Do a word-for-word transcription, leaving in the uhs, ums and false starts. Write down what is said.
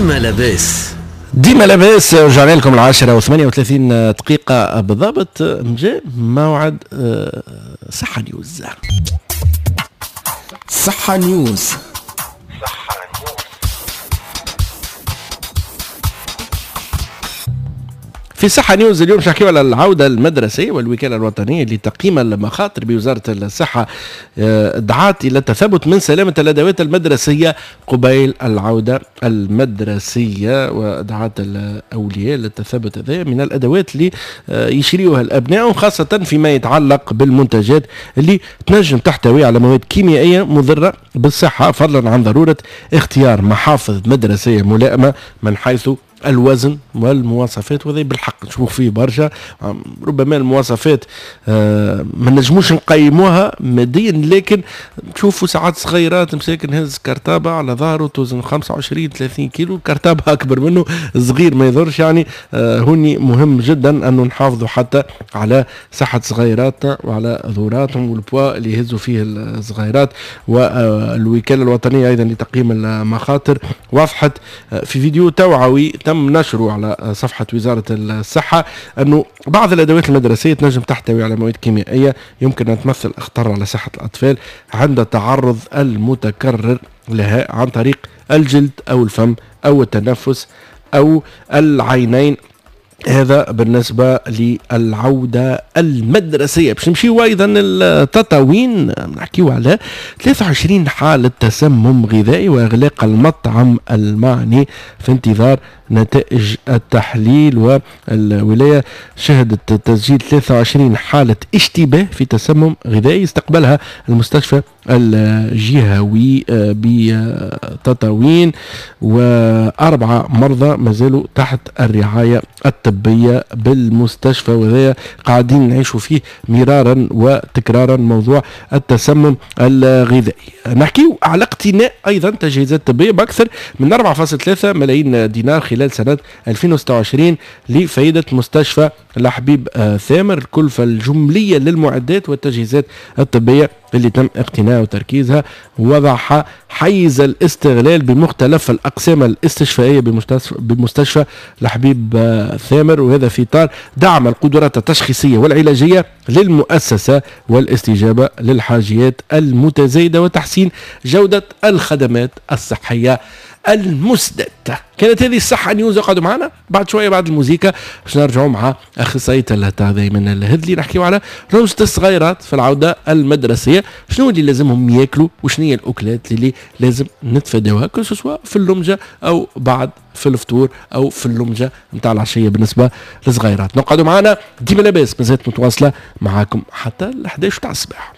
ديما لاباس. ديما لاباس. رجعنا لكم العاشرة وثمانية وثلاثين دقيقة بالضبط، جاء موعد صحة نيوز. صحة نيوز. في صحة نيوز اليوم باش نحكيو على العودة المدرسية والوكالة الوطنية لتقييم المخاطر بوزارة الصحة دعت إلى التثبت من سلامة الأدوات المدرسية قبيل العودة المدرسية، ودعت الأولياء للتثبت هذا من الأدوات اللي يشريوها الأبناء، خاصة فيما يتعلق بالمنتجات اللي تنجم تحتوي على مواد كيميائية مضرة بالصحة، فضلا عن ضرورة اختيار محافظ مدرسية ملائمة من حيث الوزن والمواصفات. وهذا بالحق نشوف فيه برشا، ربما المواصفات آه ما نجموش نقيموها ماديا، لكن نشوفوا ساعات صغيرات مساكن هز كرتابه على ظهره توزن خمسة وعشرين ثلاثين كيلو، كرتابه اكبر منه صغير ما يضرش. يعني آه هوني مهم جدا انه نحافظوا حتى على صحة صغيراتنا وعلى ظهوراتهم والبوا اللي يهزوا فيه الصغيرات. والوكالة الوطنية ايضا لتقييم المخاطر وضحت في فيديو توعوي تم نشره على صفحة وزارة الصحة أنه بعض الأدوات المدرسية تنجم تحتوي على مواد كيميائية يمكن أن تمثل أخطار على صحة الأطفال عند التعرض المتكرر لها عن طريق الجلد أو الفم أو التنفس أو العينين. هذا بالنسبة للعودة المدرسية. باش نمشيو أيضا التطاوين، نحكيو على ثلاثة وعشرين حالة تسمم غذائي وإغلاق المطعم المعني في انتظار نتائج التحليل. والولاية شهدت تسجيل ثلاثة وعشرين حالة اشتباه في تسمم غذائي استقبلها المستشفى الجهوي بتطاوين، وأربعة مرضى ما زالوا تحت الرعاية الطبية بالمستشفى، وهذا قاعدين نعيشوا فيه مرارا وتكرارا موضوع التسمم الغذائي. نحكيو على اقتناء أيضا تجهيزات طبية بأكثر من أربعة فاصلة ثلاثة ملايين دينار خلال سنة ألفين وستة وعشرين لفائدة مستشفى الحبيب ثامر. الكلفة الجملية للمعدات والتجهيزات الطبية اللي تم اقتناءها وتركيزها وضعها حيز الاستغلال بمختلف الأقسام الاستشفائية بمستشفى, بمستشفى الحبيب ثامر، وهذا في إطار دعم القدرات التشخيصية والعلاجية للمؤسسة والاستجابة للحاجيات المتزايدة وتحسين جودة الخدمات الصحية المسدد. كانت هذه الصحة نيوز، اقعدوا معنا بعد شوية بعد الموزيكا باش نرجعوا مع أخصائية التغذية من الهذلي نحكيو على رمزة الصغيرات في العودة المدرسية، شنو اللي لازمهم ياكلوا وشنو هي الأكلات اللي لازم نتفاداوها que ce soit في اللمجة أو بعد في الفطور أو في اللمجة نتاع العشية بالنسبة للصغيرات. نقعدوا معنا ديما لاباس، مازالت متواصلة معاكم حتى ال أحد عشر تاع الصباح.